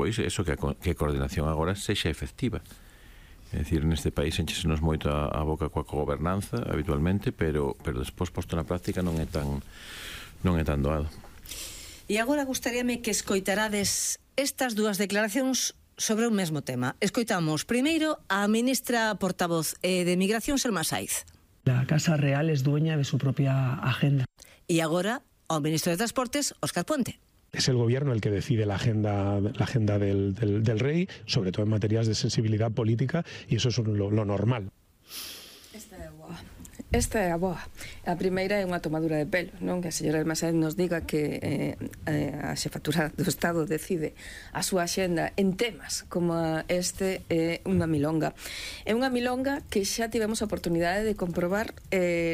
despois eso que a coordinación agora sexa efectiva. É dicir, neste país enchesenos moito a boca coa cogobernanza habitualmente, pero despois posto na práctica non é tan doado. E agora gustaríame que escoitarades estas dúas declaracións sobre un mesmo tema. Escoitamos primeiro a ministra portavoz de Migración, Selma Saiz. La Casa Real es dueña de su propia agenda. E agora ao ministro de Transportes, Óscar Puente. Es el gobierno el que decide la agenda del rey, sobre todo en materias de sensibilidad política, y eso es lo normal. Esta é a boa. A primeira é unha tomadura de pelo, non? Que a señora Selma Saiz nos diga que a xefatura do Estado decide a súa axenda en temas como este é unha milonga. É unha milonga que xa tivemos a oportunidade de comprobar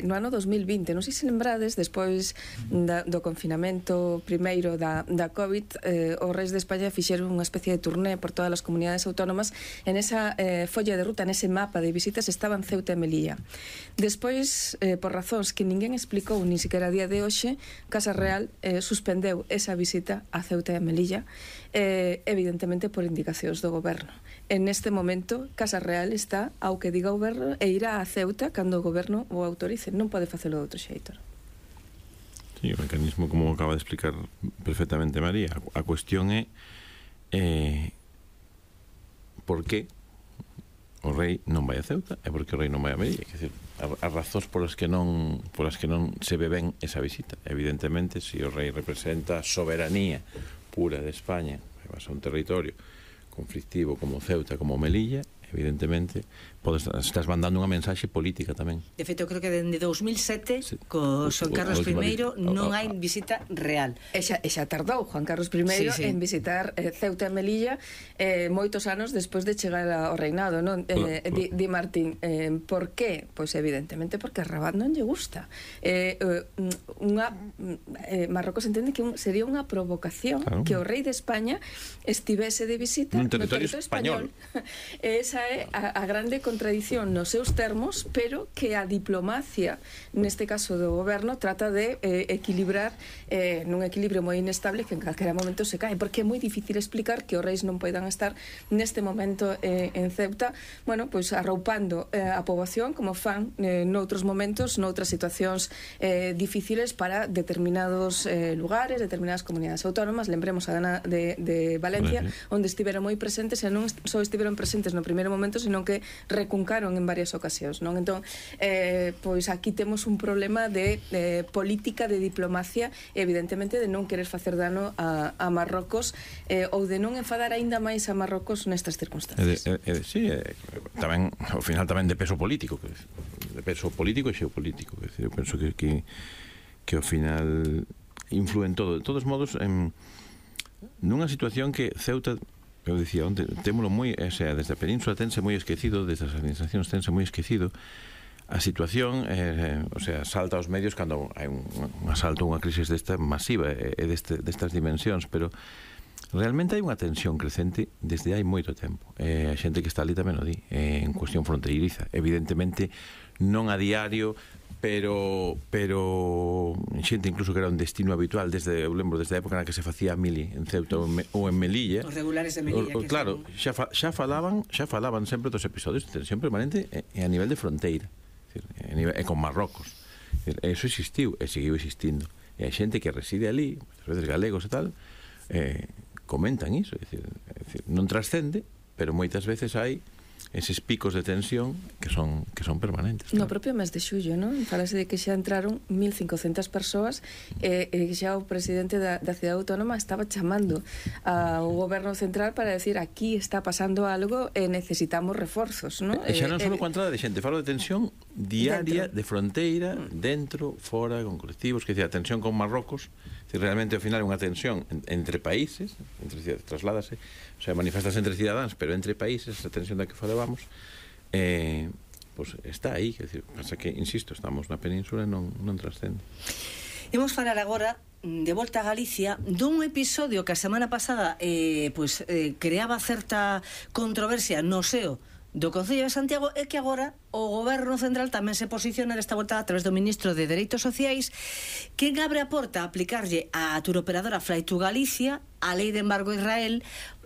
no ano 2020. Non sei se lembrades, despois do confinamento primeiro da COVID, os reis de España fixeron unha especie de turné por todas as comunidades autónomas. En esa folla de ruta, nese mapa de visitas, estaban Ceuta e Melilla. Despois, por razóns que ninguén explicou nin sequera a día de hoxe, Casa Real suspendeu esa visita a Ceuta e a Melilla, evidentemente por indicacións do goberno. En este momento, Casa Real está ao que diga o goberno e irá a Ceuta cando o goberno o autorice. Non pode facelo de outro xeito. Sí, o mecanismo, como acaba de explicar perfectamente María, a cuestión é por que o rei non vai a Ceuta e porque o rei non vai a Melilla. Quer dizer, as razóns polas que non se ve ben esa visita. Evidentemente, se o rei representa a soberanía pura de España, vas a un territorio conflictivo como Ceuta, como Melilla, evidentemente estás mandando unha mensaxe política tamén. De feito, creo que dende 2007 co Juan Carlos I non hai visita real. E xa tardou Juan Carlos I en visitar Ceuta e Melilla moitos anos despois de chegar ao reinado, non? Di Martín, por qué? Pois evidentemente porque a Rabat non lle gusta. Marrocos entende que sería unha provocación que o rei de España estivese de visita no territorio español. Esa é a grande contradición nos seus termos, pero que a diplomacia, neste caso do goberno, trata de equilibrar nun equilibrio moi inestable que en calquera momento se cae, porque é moi difícil explicar que os reis non poidan estar neste momento en Ceuta, bueno, pois arroupando a poboación como fan noutros momentos, noutras situacións difíciles para determinados lugares, determinadas comunidades autónomas. Lembremos a Dana de Valencia, onde estiveron moi presentes, e non só estiveron presentes no primeiro momento, sino que recuncaron en varias ocasións, non? Entón, pois aquí temos un problema de política, de diplomacia, evidentemente de non querer facer dano a Marrocos, ou de non enfadar aínda máis a Marrocos nestas circunstancias. Sí, tamén, ao final tamén de peso político, e xeopolítico, eu penso que ao final influen todo. De todos modos, nunha situación que Ceuta, eu dicía onte, témolo moi, desde a península tense moi esquecido, desde as administracións tense moi esquecido a situación, salta aos medios cando hai un asalto, unha crisis desta masiva e destas dimensións, pero realmente hai unha tensión crecente desde hai moito tempo. A xente que está ali tamén o di, en cuestión fronteiriza, evidentemente non a diario, pero xente incluso que era un destino habitual eu lembro desde a época na que se facía a mili en Ceuta ou en Melilla. Os regulares de Melilla, claro, xa falaban sempre dos episodios de tensión permanente a nivel de fronteira, e con Marrocos. Eso existiu e seguiu existindo, e a xente que reside ali, ás veces galegos e tal, comentan iso, non trascende, pero moitas veces hai eses picos de tensión que son permanentes. No propio mes de xullo, non? Falase de que xa entraron 1.500 persoas e xa o presidente da cidade autónoma estaba chamando ao goberno central para decir aquí está pasando algo e necesitamos reforzos, non? Xa non só coa entrada de xente, falo de tensión diaria, de fronteira, dentro, fora, con colectivos, que a tensión con Marrocos, realmente ao final é unha tensión entre países, trasládase, o sea, manifestase entre cidadáns, pero entre países, esa tensión da que falábamos, pois está aí, quer dizer, pasa que, insisto, estamos na península e non trascende. Imos falar agora de volta a Galicia dun episodio que a semana pasada creaba certa controversia no seo do Concello de Santiago, é que agora o Goberno Central tamén se posiciona desta volta a través do Ministro de Dereitos Sociais, quen abre a porta a aplicarlle a turoperadora Fly to Galicia a lei de embargo a Israel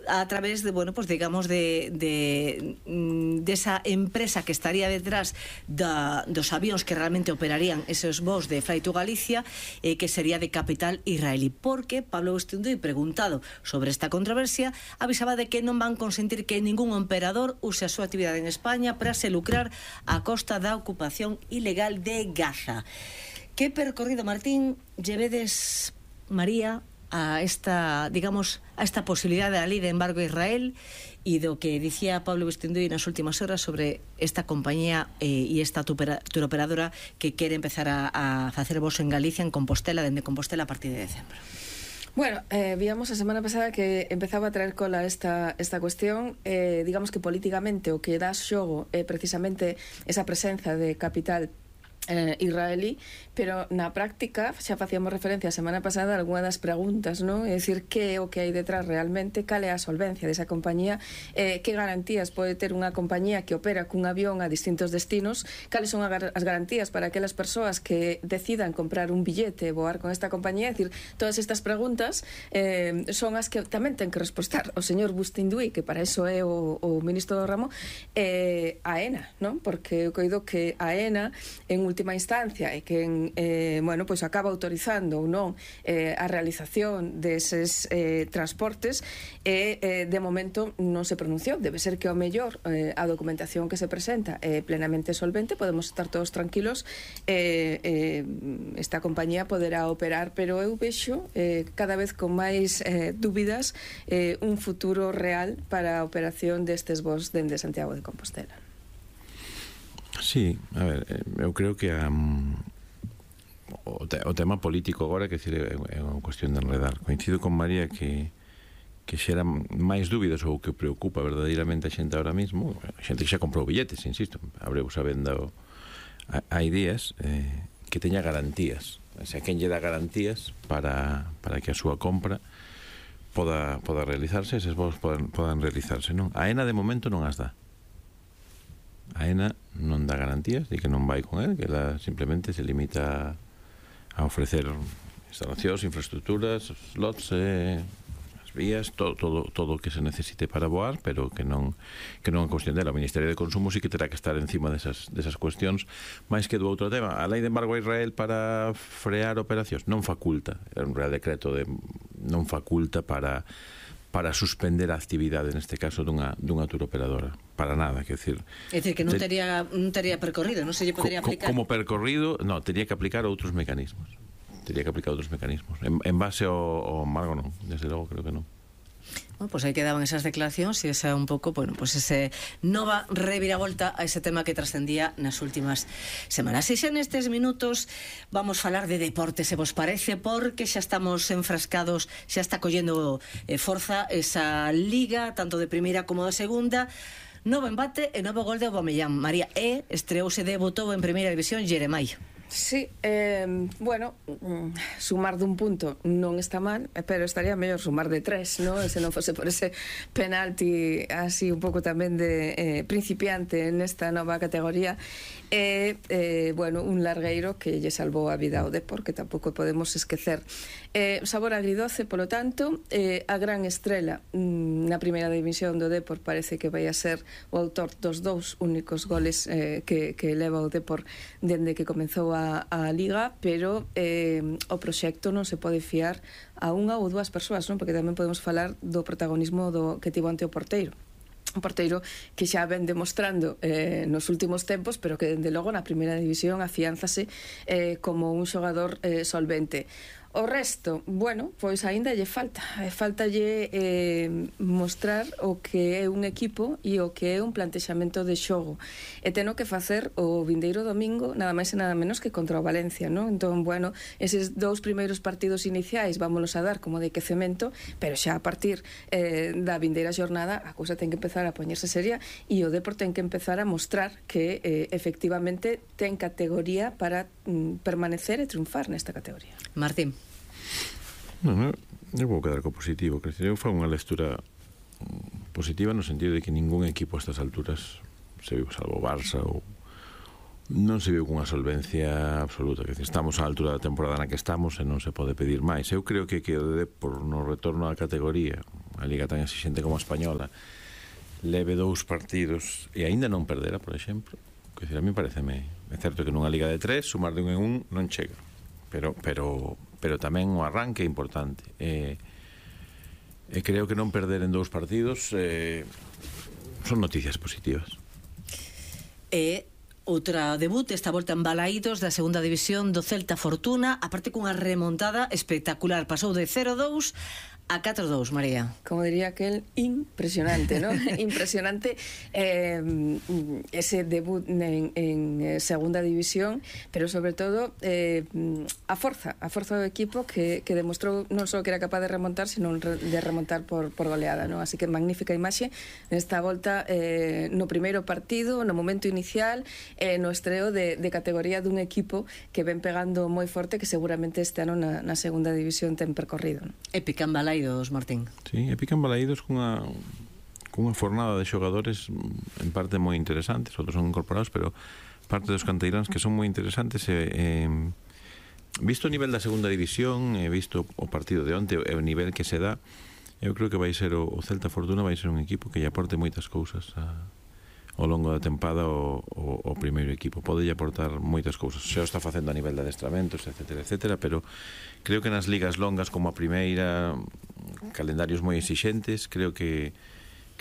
a través de, bueno, pues digamos de esa empresa que estaría detrás dos avións que realmente operarían esos voos de Fly to Galicia, que sería de capital israelí, porque Pablo Bustinduy, preguntado sobre esta controversia, avisaba de que non van consentir que ningún operador use a súa actividade en España para se lucrar a costa da ocupación ilegal de Gaza. Que percorrido, Martín, llevedes, María, a esta, digamos, a esta posibilidade da lei de embargo a Israel e do que dicía Pablo Bustinduy nas últimas horas sobre esta compañía e esta turoperadora que quere empezar a facer voos en Galicia, en Compostela, dende Compostela a partir de decembro. Bueno, víamos a semana pasada que empezaba a traer cola esta cuestión. Digamos que políticamente o que dá xogo é precisamente esa presenza de capital israelí, pero na práctica xa facíamos referencia a semana pasada a algunha das preguntas, non? É dicir, que é o que hai detrás realmente, cal é a solvencia desa compañía, que garantías pode ter unha compañía que opera cun avión a distintos destinos, cales son as garantías para aquelas persoas que decidan comprar un billete e voar con esta compañía. É dicir, todas estas preguntas son as que tamén ten que respostar o señor Bustinduy, que para iso é o ministro do ramo, AENA, non? Porque eu coido que AENA en última instancia e que bueno, pois acaba autorizando ou non a realización deses transportes e de momento non se pronunciou. Debe ser que ao mellor a documentación que se presenta é plenamente solvente, podemos estar todos tranquilos, esta compañía poderá operar, pero eu vexo cada vez con máis dúbidas un futuro real para a operación destes voos dende Santiago de Compostela. Sí, a ver, eu creo que o tema político agora, que é unha cuestión de enredar. Coincido con María que xera máis dúbidas ou que preocupa verdadeiramente a xente ahora mismo, a xente que xa comprou billetes, insisto, abremos a venda hai días, que teña garantías, o sea, quen lle dá garantías para que a súa compra poda realizarse, eses voos podan realizarse, non? A AENA de momento non as dá. A AENA non dá garantías de que non vai con él, que ela simplemente se limita a ofrecer instalacións, infraestructuras, slots, as vías, todo o que se necesite para voar, pero que non é cuestión dela. O Ministerio de Consumo sí que terá que estar encima desas cuestións, máis que do outro tema. A lei de embargo a Israel para frear operacións non faculta, é un real decreto non faculta para suspender a actividade, neste caso, dunha turoperadora. Para nada, quer decir... É dicir, que non tería percorrido, non se lle podería aplicar... Como percorrido, non, tería que aplicar outros mecanismos. En base ao embargo, non. Desde logo, creo que non. Bueno, pues aí quedaban esas declaracións e esa un pouco, bueno, pues ese nova reviravolta a ese tema que trascendía nas últimas semanas. E xa nestes minutos vamos falar de deporte, se vos parece, porque xa estamos enfrascados, xa está collendo forza esa liga, tanto de primeira como de segunda. Novo embate e novo gol de Aubameyang. María, estreouse, debutou en primeira división Jeremai. Sí, bueno, sumar dun punto non está mal, pero estaría mellor sumar de 3, ¿no? Se non fose por ese penalti así un pouco tamén de principiante nesta nova categoría. Bueno, un largueiro que lle salvou a vida ao Depor, que tampouco podemos esquecer. Sabor agridoce, polo tanto, a gran estrela na primeira división do Depor parece que vai a ser o autor dos 2 únicos goles que leva o Depor dende que comezou a Liga, pero o proxecto non se pode fiar a unha ou 2 persoas, non? Porque tamén podemos falar do protagonismo que tivo ante o porteiro. Un porteiro que xa ven demostrando nos últimos tempos, pero que dende logo na primeira división afiánzase como un xogador solvente. O resto, bueno, pois aínda lle faltalle mostrar o que é un equipo e o que é un plantexamento de xogo, e teno que facer o vindeiro domingo nada máis e nada menos que contra o Valencia, non? Entón, bueno, eses 2 primeiros partidos iniciais vámonos a dar como de quecemento, pero xa a partir da vindeira xornada a cousa ten que empezar a poñerse seria e o Depor ten que empezar a mostrar que efectivamente ten categoría para permanecer e triunfar nesta categoría. Martín. Non, eu vou quedar co positivo. Eu fa unha lectura positiva no sentido de que ningún equipo a estas alturas se viu, salvo Barça, ou non se viu cunha solvencia absoluta. Estamos á altura da temporada na que estamos e non se pode pedir máis. Eu creo que o Depor no retorno á categoría, a Liga tan exigente como a española, leve 2 partidos e aínda non perdera, por exemplo. Que decir, a mí pareceme, é certo que nunha Liga de 3 sumar de 1 en 1 non chega, pero tamén o arranque é importante, e creo que non perder en 2 partidos son noticias positivas. Outra debut, esta volta en Balaídos da segunda división do Celta Fortuna, aparte cunha remontada espectacular, pasou de 0-2 a 4-2, María. Como diría aquel, impresionante, ¿no? Impresionante ese debut en segunda división, pero sobre todo a forza do equipo que demostrou non só que era capaz de remontar, sino de remontar por goleada, ¿no? Así que magnífica imaxe nesta volta no primeiro partido, no momento inicial, no estreo de categoría dun equipo que ven pegando moi forte, que seguramente este ano na segunda división ten percorrido, ¿no? Épica en Balaídos, Martín. Sí, épica en Balaídos cunha fornada de xogadores en parte moi interesantes, outros son incorporados, pero parte dos canteiráns que son moi interesantes. Visto o nivel da segunda división, visto o partido de onte, o nivel que se dá, eu creo que vai ser o Celta Fortuna vai ser un equipo que lle aporte moitas cousas ao longo da tempada o primeiro equipo. Pode lle aportar moitas cousas, xa o está facendo a nivel de adestramentos, etcétera, etcétera, pero creo que nas ligas longas como a primeira, calendarios moi exixentes, creo que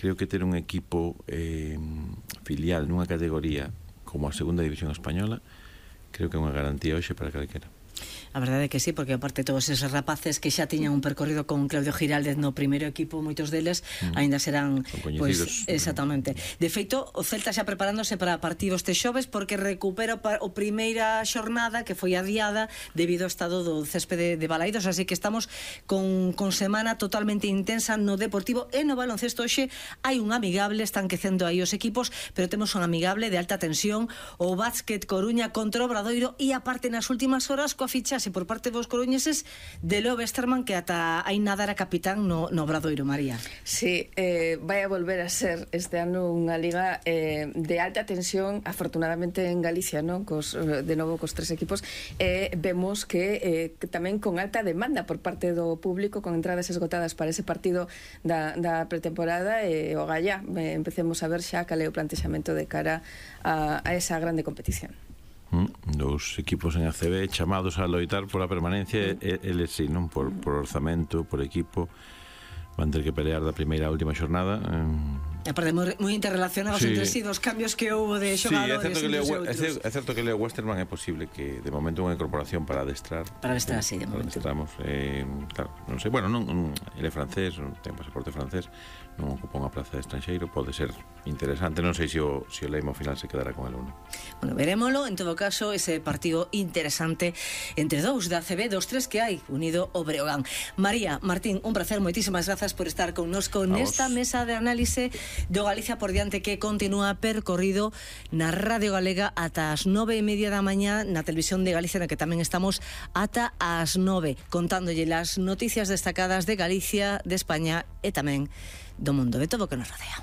ter un equipo filial nunha categoría como a segunda división española, creo que é unha garantía hoxe para calquera. A verdade é que sí, porque aparte todos esos rapaces que xa tiñan un percorrido con Claudio Giraldez no primeiro equipo, moitos deles aínda serán coñecidos. Exactamente. De feito, o Celta xa preparándose para partidos este xoves, porque recupera o primeira xornada que foi adiada debido ao estado do céspede de Balaídos, así que estamos con semana totalmente intensa no Deportivo e no baloncesto. Hoxe hai un amigable, están quecendo aí os equipos, pero temos un amigable de alta tensión, o Básquet Coruña contra o Obradoiro, e aparte nas últimas horas coa fichase por parte dos coruñeses de Leo Westerman, que ata aí nada era capitán no Obradoiro, María. Sí, vai a volver a ser este ano unha liga de alta tensión, afortunadamente en Galicia, ¿no? De novo cos 3 equipos, vemos que tamén con alta demanda por parte do público, con entradas esgotadas para ese partido da pretemporada, e o galla empecemos a ver xa cal é o plantexamento de cara a esa grande competición. Dos equipos en ACB chamados a loitar pola permanencia, eles sí, non? Por orzamento, por equipo, van ter que pelear da primeira á última xornada. Aparte, moi interrelacionados entre sí, dos cambios que houve de xogadores. Sí, é certo que Leo Westerman é posible que de momento unha incorporación para adestrar. Para adestrar, sí, de momento. Claro, non sei, bueno, ele é francés, ten pasaporte francés, non ocupa unha plaza de estranxeiro, pode ser interesante, non sei se o Leimo ao final se quedará con el ou non. Bueno, verémolo, en todo caso, ese partido interesante entre dous da ACB, dos 3 que hai, unido o Breogán. María, Martín, un placer, moitísimas grazas por estar connosco nesta mesa de análise do Galicia por diante, que continúa percorrido na Radio Galega ata as 9:30 da mañá, na televisión de Galicia, na que tamén estamos ata as 9, contándolle as noticias destacadas de Galicia, de España e tamén do mundo, de todo o que nos rodea.